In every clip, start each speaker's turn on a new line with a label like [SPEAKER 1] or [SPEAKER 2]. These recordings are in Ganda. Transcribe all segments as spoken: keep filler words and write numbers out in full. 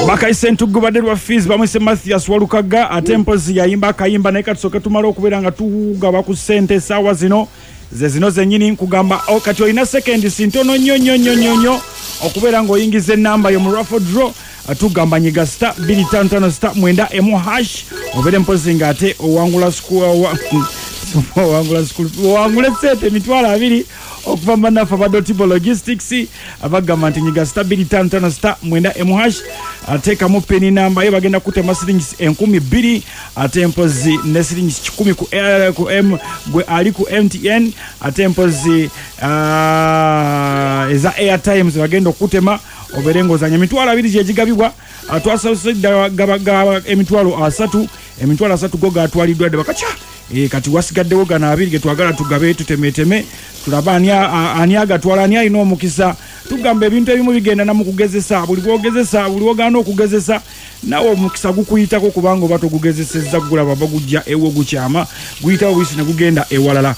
[SPEAKER 1] Bakayise entuggu badde lwa fees, bamwise Mathias Walukaga, ate mpozi yayimba akayimba. Naye katusooke tumale okubeera nga tugaba ku ssente essaawa zino ze zino zennyini. Nkugamba, oh, kati olina seconds ntono nnyo nnyo nnyo nnyo nnyo okubeera ng'oyingiza ennamba yo mu raffle draw. Tugamba nyiga star bbiri ttaano ttaano star mwenda emu hash, obeere mpozi ng'ate owangula school, owangula school, owangule sente emitwalo abiri okuva mu bannaffe aba Dotibo Logistics. Abagamba nti nyiga star bbiri ttaano ttaano star mwenda emu hash, ateekamu PIN namba yo, bagenda kutema siringisi enkumi bbiri, ate mpozi ne siringisi kikumi ku, eh, ku M gwe ali ku M T N, ate mpozi uh, eza airtimes bagenda okutema, obeere ng'ozanya. Emitwalo abiri gyegigabibwa. Twasause gaba emitwalo asatu, emitwalo asatu go gatwaliddwa dde bakaca. E, kati wasigaddewo gano abiri ge twagala tugabe, tutemeteme, tulabe ani a- ani agatwala, ani alina omukisa. Tugamba ebintu ebimu bigenda na mu kugezesa. Buli bwogezesa, buli wogaana okugezesa, nawe omukisa gukuyitako, kubanga oba togugezesezza gulaba bagujja ewo gukyama, guyitawo buyisi ne gugenda ewalala.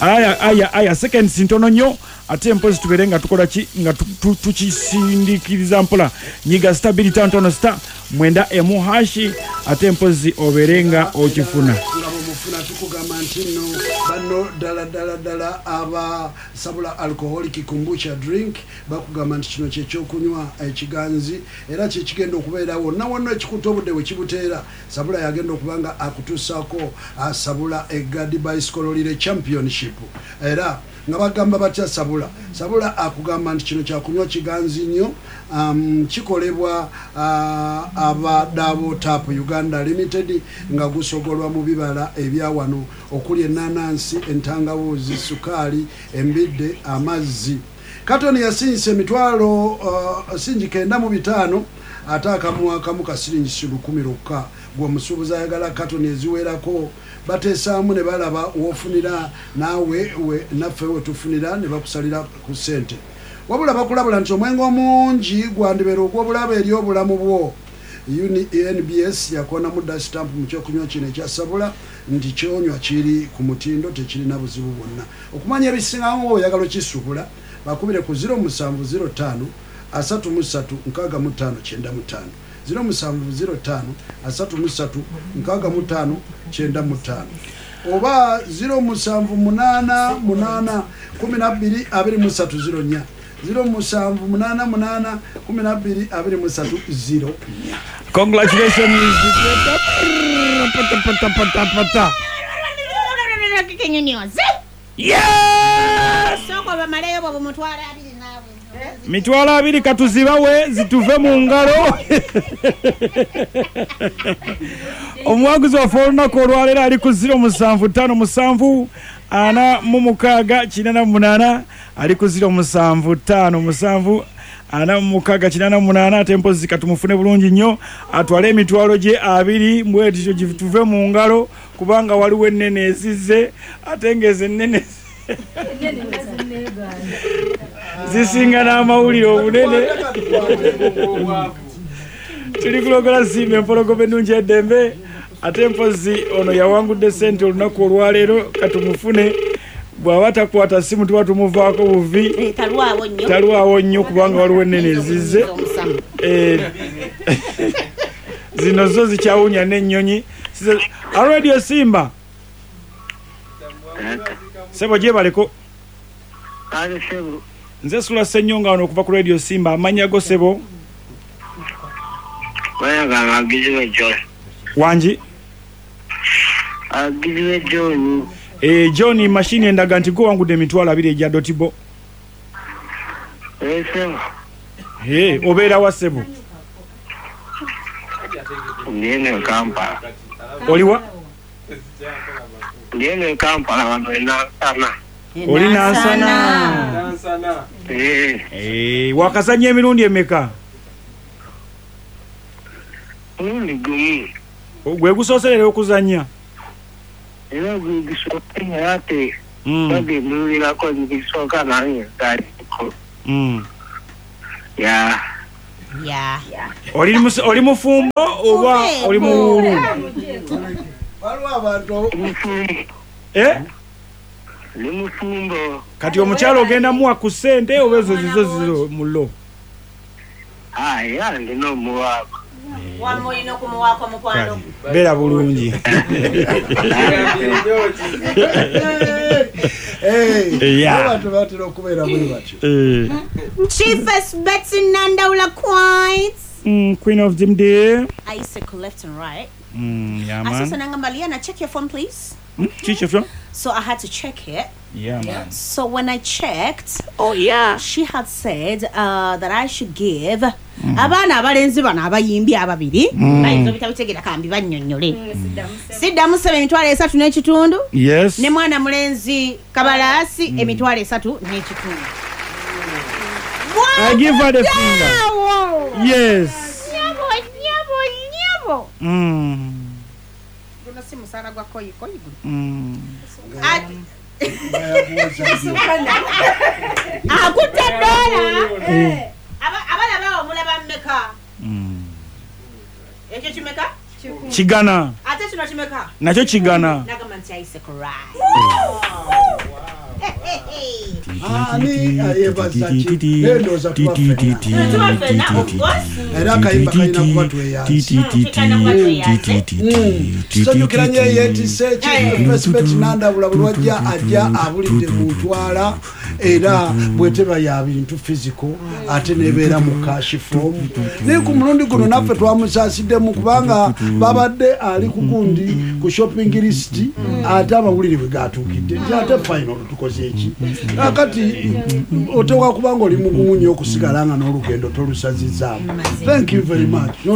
[SPEAKER 1] Aya aya aya, seconds ntono nnyo, ate mpozi tubeere nga tukola ki, nga tu- tu- tukisindikiriza mpola. Nyiga star bbiri ttaano ttaano star mwenda emu hash, ate mpozi obeere nga okifuna.
[SPEAKER 2] Nga bwemufuna, tukugamba nti nno banno ddala ddala ddala abasabula alcoholic kombucha drink bakugamba nti kino kyekyokunywa ekiganzi era kyekigenda okubeera wonna wonna ekikuta obudde we kibuteera. Sabula yagenda okuba nga akutuusaako Sabula Egadi Bicycle Relay Championship. Era nga bagamba batya Sabula? Sabula akugamba nti kino kyakunywa kiganzi nnyo, um, kikolebwa uh, aba Dabo Tap Uganda Limited, nga gusogolwa mu bibala ebyawano okuli enanansi, entangawuzi, sukaali, embidde, amazzi. Katoni yasinyisa emitwalo uh, singi kenda mu bitaano, ate akamu akamu kasiringisi lukumi lwokka. Gwe omusuubuzi ayagala katoni eziwerako, bateesaamu ne balaba woofunira naawe we naffe we tufunira ne bakusalira ku ssente. Wabula bakulabula nti omwenge omungi gwandibeera ogw'obulabe eri obulamu bwo. Uni- N B S yakonamu dda stamp mu kyokunywa kino ekya Sabula nti kyonywa kiri ku mutindo, tekirina buzibu bwonna. Okumanya ebisingawo, oyagala okisuubula, bakubire ku zero musanvu zero ttaano asatu mu ssatu nkaaga mu ttaano kyenda mu ttaano, zero musanvu zero ttaano asatu mu ssatu nkaaga mu ttaano kyenda mu ttaano, oba zero musanvu munaana munaana kumi na bbiri abiri mu ssatu zero nnya, zero musanvu munaana munaana kumi na bbiri abiri mu ssatu zero nnya.
[SPEAKER 1] Congratulations. Pata, pata, pata, pata.
[SPEAKER 3] Kenyonyoze.
[SPEAKER 1] Yes!
[SPEAKER 3] Sooka bamaleyo bwe bumutwalo abiri naawe.
[SPEAKER 1] Mitwalo abiri katuzibawe zituve mu ngalo. Omuwaguzi waffe olunaku olwaleero ali ku zero musanvu ttaano musanvu ana mu mukaaga kinaana mu munaana, ali ku zero musanvu ttaano musanvu ana mu mukaaga kinaana mu munaana. Ate mpozi katumufune bulungi nnyo atwale emitwalo gye abiri mbwetyo gituve mu ngalo, kubanga waliwo ennene ezizze, ate ng'ezo ennene zisinga n'amawulire obunene. Tuli kulogola Simba, empologoma ennungi eddembe. Ate mpozi ono yawangudde sente olunaku olwaleero, katumufune. Bw'aba takwata simu tuba tumuvaako buvi.
[SPEAKER 3] Eh, talwawo nnyo.
[SPEAKER 1] Talwawo nnyo kubanga waliwo ennene ezizze.
[SPEAKER 3] Omusamu.
[SPEAKER 1] Eh, zino zo zikyawunya n'ennyonyi. Radio Simba, sebo, gyebaleko.
[SPEAKER 4] Kale sebo.
[SPEAKER 1] Nze Sula Ssenyonga wano okuva ku Radio Simba. Amannya go, sebo?
[SPEAKER 4] Wayagala Agiziwe John.
[SPEAKER 1] Wangi?
[SPEAKER 4] Agiziwe John.
[SPEAKER 1] Eh, John, mashini endaga nti gwe wangudde emitwalo abiri egya Dotibo.
[SPEAKER 4] Eh, sebo.
[SPEAKER 1] Hey, obeera wa, sebo?
[SPEAKER 4] Ndieno e Kampala.
[SPEAKER 1] Oliwa?
[SPEAKER 4] Ndieno e Kampala wano e Nansana.
[SPEAKER 1] Oli Nansana?
[SPEAKER 4] Eh,
[SPEAKER 1] Eh, wakazanya emirundi emeka?
[SPEAKER 4] Mulundi gumu.
[SPEAKER 1] Gwe gusoose leero okuzanya?
[SPEAKER 4] Era gwe gusooka, naye ate
[SPEAKER 1] Mm,
[SPEAKER 4] bagembulirako ngisooka nange galiko.
[SPEAKER 1] mm.
[SPEAKER 4] Ya.
[SPEAKER 3] Ya.
[SPEAKER 1] Oli mus- oli mufumbo oba oli muwuulu?
[SPEAKER 2] Waliwo abantu.
[SPEAKER 4] Mufumbo.
[SPEAKER 1] Eh?
[SPEAKER 4] Ndi mufumbo.
[SPEAKER 1] Kati omukyalo ogenda muwa ku ssente oba ezo zizo zizo mulo?
[SPEAKER 4] Ah, era ndina omuwaako.
[SPEAKER 3] Wamma olina okumuwaako mukwano.
[SPEAKER 1] Beera bulungi. Yeah.
[SPEAKER 2] Abantu batera okubeera bwe batyo.
[SPEAKER 1] Eh,
[SPEAKER 3] Chiefess Betsy Nandawula Quite.
[SPEAKER 1] mm, Queen of Jimdi.
[SPEAKER 3] I used to go left and right.
[SPEAKER 1] Mm, yeah, man.
[SPEAKER 3] Asusa nangamba Liana, check your phone please.
[SPEAKER 1] Mm, Chief of
[SPEAKER 3] So I had to check it.
[SPEAKER 1] Yeah, man.
[SPEAKER 3] So when I checked,
[SPEAKER 5] Oh yeah.
[SPEAKER 3] she had said uh, that I should give abaana abalenzi bano abayimbi ababiri bayinza obutabitegeera kambi bannyonnyole siddamu ssebe emitwalo esatu n'ekitundu
[SPEAKER 1] Yes.
[SPEAKER 3] ne mwana mulenzi kabalaasi emitwalo esatu n'ekitundu.
[SPEAKER 1] I give her the finger.
[SPEAKER 3] Awo!
[SPEAKER 1] Yes.
[SPEAKER 3] Nnyabo, nnyabo, nnyabo.
[SPEAKER 1] Mm.
[SPEAKER 3] Guno si musaala gwa koyikoyi guno.
[SPEAKER 1] Mm.
[SPEAKER 3] Ati- akutte ddoola. Aba- abalaba awo mulaba mmeka?
[SPEAKER 1] Mm.
[SPEAKER 3] Ekyo kimeka?
[SPEAKER 1] Kigana.
[SPEAKER 3] Ate kino kimeka?
[SPEAKER 1] Nakyo kigana.
[SPEAKER 3] Nagamba nti ayise ku right.
[SPEAKER 2] Ani ayebaza ki? Naye ndowooza tuba ffenna.
[SPEAKER 3] Tuba ffenna, of course.
[SPEAKER 2] Era akayimba kalina kuba tweyanze. Kisanyukira nnyo eyeetisse Chiefess Nandawula buli lwajja ajja abulidde mu ntwala era bweteba ya bintu physical ate nebeera mu cash form. Naye ku mulundi guno naffe twamusaasiddemu kubanga babadde ali ku gundi ku shopping list ate amawulire bwe gatuukidde nti ate final tukoze eki. Kakati oteekwa kubanga oli mugumu nnyo okusigala nga n'olugendo tolusazizaamu. Thank you very much.